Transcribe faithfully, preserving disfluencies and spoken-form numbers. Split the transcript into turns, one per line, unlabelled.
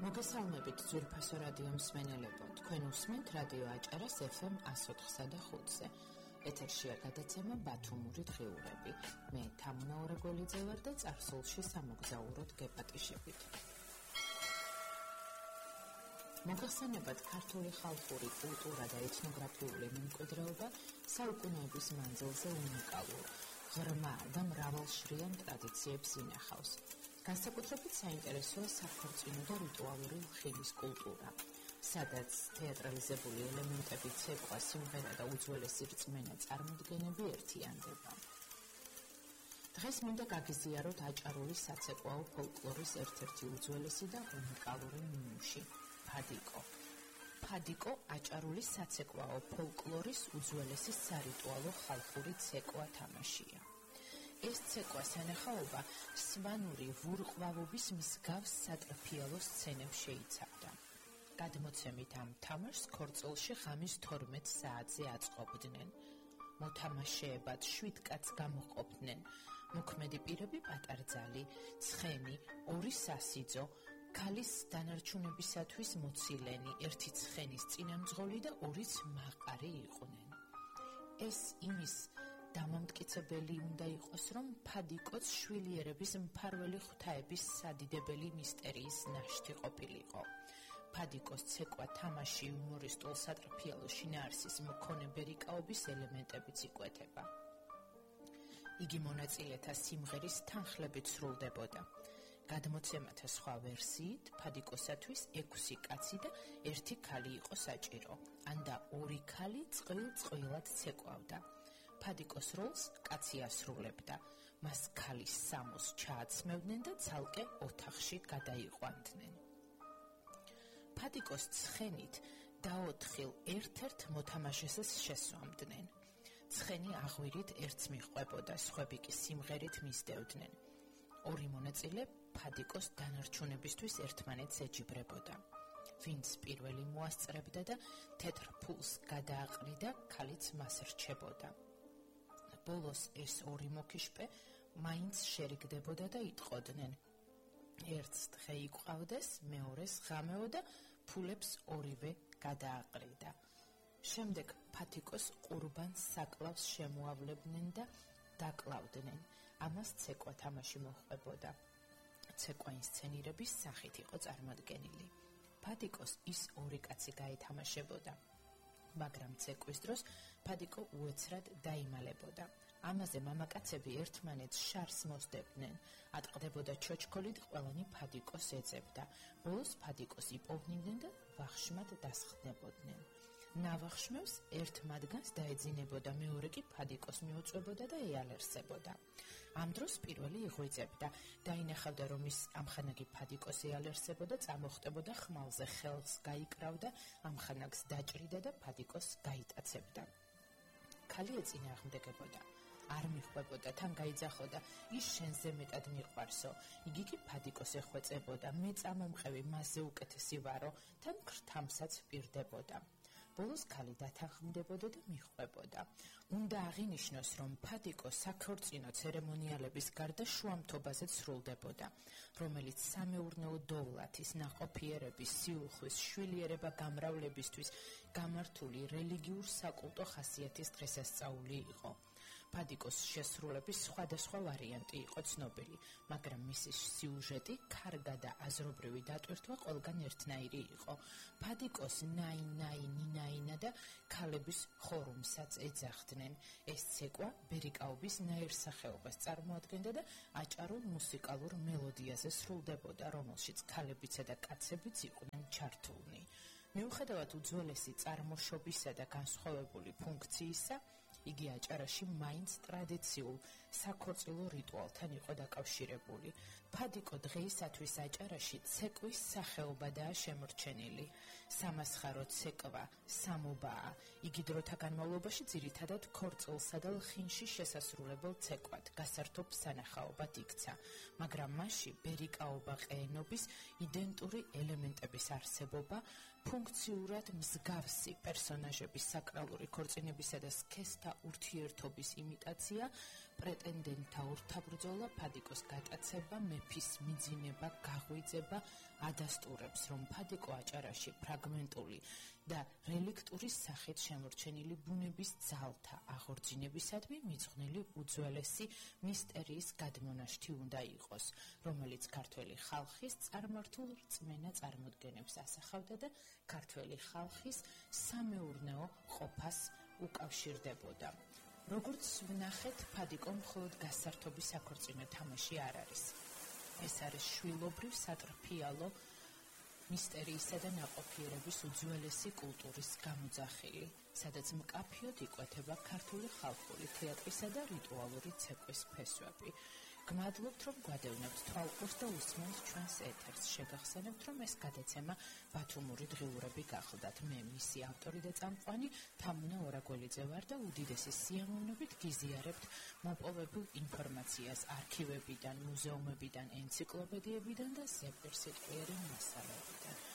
მოგესალმებით ძვირფასო რადიო მსმენელებო, თქვენ უსმენთ რადიო აჭარას ეფ ემ εκατო ოთხსა და ხუთზე. ეთერშია გადაცემა ბათუმური დღიურები. მე თამუნა ორეგოლიძე ვარ და წარსულში სამოგზაუროდ გეპატიშებით. მოგხსენებათ ქართული ხალხური კულტურა და ეთნოგრაფიული მემკვიდრეობა საუკუნეების მანძილზე უნიკალურ, ღრმა და მრავალშრიან ტრადიციებს ინახავს. განსაკუთრებით საინტერესოა საქორწინო და რიტუალური ხილის კულტურა, სადაც თეატრალიზებული ელემენტები, ცეკვა, სიმღერა და უძველესი რწმენა წარმოდგენები ერთიანდება. დღეს მინდა გაგიზიაროთ აჭარული საცეკვაო ფოლკლორის ერთ-ერთი უძველესი და უნიკალური ნიმუში ფადიკო. ფადიკო აჭარული საცეკვაო ფოლკლორის უძველესი სარიტუალო ხალხური ცეკვა თამაშია. ეს ცეკვა სანახაობა სვანური ვურყვავობის მსგავს სატრფიალო სცენებს შეიცავდა. გადმოცემით ამ თამაშს ქორწილში ღამის თორმეტ საათზე აწყობდნენ. მოთამაშეებად შვიდ კაცს გამოყოფდნენ. მოქმედი პირები პატარძალი, ცხენი, ორი სასიძო, ქალის დანარჩუნებისათვის მოცილენი, ერთი ცხენის წინამძღოლი და ორიც მაყარი იყვნენ. ეს იმის დამამტკიცებელი უნდა იყოს, რომ ფადიკოც შვილიერების მფარველი ღვთაების სადიდებელი მისტერიის ნაშთი ყოფილიყო. ფადიკოს ცეკვა თამაში იუმორისტულ სატრფიალო შინაარსის მქონე ბერიკაობის ელემენტებიც იკვეთება. იგი მონაწილეთა სიმღერის თანხლებით სრულდებოდა. გადმოცემათა სხვა ვერსიით ფადიკოსათვის ექვსი კაცი და ერთი ქალი იყო საჭირო, ანდა ორი ქალი წყვილ-წყვილად ცეკვავდა. ფადიკოს როლს კაცი ასრულებდა, მას ქალის სამოს ჩააცმევდნენ და ცალკე ოთახში გადაიყვანდნენ. ფადიკოს ცხენით დაოთხილ ერთ-ერთ მოთამაშეს შესვამდნენ. ცხენი აღვირით ერთს მიჰყვებოდა, სხვები კი სიმღერით მისდევდნენ. ორი მონაწილე ფადიკოს დანარჩუნებისთვის ერთმანეთს ეჯიბრებოდა. ვინც პირველი მოასწრებდა და თეთრ ფულს გადააყრიდა, ქალიც მას რჩებოდა. ბოლოს ეს ორი მოქიშპე მაინც შერიგდებოდა და იტყოდნენ. ერთს დღე იყვავდეს, მეორეს ღამეო და ფულებს ორივე გადააყრიდა. შემდეგ ფადიკოს ყურბანს საკლავს შემოავლებდნენ და დაკლავდნენ. ამას ცეკვა თამაში მოჰყვებოდა. ცეკვა ინსცენირების სახით იყო წარმოდგენილი. ფადიკოს ის ორი კაცი გაეთამაშებოდა. მაგრამ ცეკვის დროს ფადიკო უეცრად დაიმალებოდა. ამაზე მამაკაცები ერთმანეთს შარს მოსდებდნენ. ატყდებოდა ჩოჩქოლით, ყველანი ფადიკოს ეძებდა. ბოლოს ფადიკოს იპოვნდნენ და ვახშმად დასხდებოდნენ. ნავახშმევს ერთ მათგანს დაეძინებოდა, მეორე კი ფადიკოს მიუწვებოდა და ეალერსებოდა. ამ დროს პირველი იღვიძებდა, დაინახავდა, რომ ის ამხანაგი ფადიკოს ეალერსებოდა, წამოხტებოდა ხმალზე, ხელს გაიკრავდა, ამხანაგს დაჭრიდა და ფადიკოს გაიტაცებდა. ქალი ეწინააღმდეგებოდა. არ მიხვებოდა, თან გაიძახოდა, ის შენზე მეტად მიყვარსო. იგი კი ფადიკოს ეხვეწებოდა, მე წამომყევი, მასზე უკეთესი ვარო, თან ქრთამსაც პირდებოდა. ბოლოს ქალი დათანხმდებოდა და მიხვებოდა. უნდა აღინიშნოს, რომ ფადიკო საქორწინო ცერემონიალების გარდა შუამთობაზეც სრულდებოდა, რომელიც სამეურნეო დოვლათის, ნაყოფიერების, სიუხვის, შვილიერება გამრავლებისთვის გამართული რელიგიურ საკულტო ხასიათის დღესასწაული იყო. ფადიკოს შესრულების სხვადასხვა ვარიანტი იყო ცნობილი, მაგრამ მისი სიუჟეტი, ქარგა და აზრობრივი დატვირთვა ყველგან ერთნაირი იყო. ფადიკოს ნაი-ნაი, ნინაინა და ქალების ხორუმსაც ეძახდნენ. ეს ცეკვა ბერიკაობის ნაირსახეობას წარმოადგენდა და აჭარულ მუსიკალურ მელოდიაზე სრულდებოდა, რომელშიც ქალებიცა და კაცებიც იყვნენ ჩართულნი. მიუხედავად უძველესი წარმოშობისა და განსხვავებული ფუნქციისა, იგი აჭარაში მაინც ტრადიციულ საქორწილო რიტუალთან იყო დაკავშირებული. ფადიკო დღეისათვის აჭარაში ცეკვის სახეობადაა შემორჩენილი. სამასხარო ცეკვა, სამობაა. იგი დროთა განმავლობაში ძირითადად ქორწილსა და ლხინში შესასრულებელ ცეკვად, გასართობ სანახაობად იქცა, მაგრამ მასში ბერიკაობა ყეენობის იდენტური ელემენტების არსებობა, ფუნქციურად მსგავსი პერსონაჟების საკრალური ქორწინებისა და სქესთა ურთიერთობის იმიტაცია, პრეტენდენტთა ურთაბრძოლა, ფადიკოს გატაცება, მეფის მიძინება, გაღვიძება ადასტურებს, რომ ფადიკო აჭარაში ფრაგმენტული და რელიქტურის სახით შემორჩენილი ბუნების ძალთა აღორძინებისადმი მიძღვნილი უძველესი მისტერიის გადმონაშთი უნდა იყოს, რომელიც ქართველი ხალხის წარმართულ რწმენა წარმოდგენებს ასახავდა და ქართველი ხალხის სამეურნეო ყოფას უკავშირდებოდა. როგორც ვნახეთ, ფადიკო მხოლოდ გასართობის საქორწინო თამაში არ არის. ეს არის შვილობრივ სატრფიალო მისერიისა და ნაყოფიერების უძველესი კულტურის გამოძახილი, სადაც მკაფიოდ იკვეთება ქართული ხალხური თეატრისა და რიტუალური ცეკვის ფესვები. გმადლობთ, რომ გვადევნებთ თვალყურს და უსმენთ ჩვენს ეთერს. შეგახსენებთ, რომ ეს გადაცემა ბათუმური დღიურები გახლდათ. მე მისი ავტორი და წამყვანი თამუნა ორაგველიძე ვარ და უდიდესი სიამოვნებით გიზიარებთ მოპოვებულ ინფორმაციას არქივებიდან, მუზეუმებიდან, ენციკლოპედიებიდან და ზეპირსიტყვიერი მასალებიდან.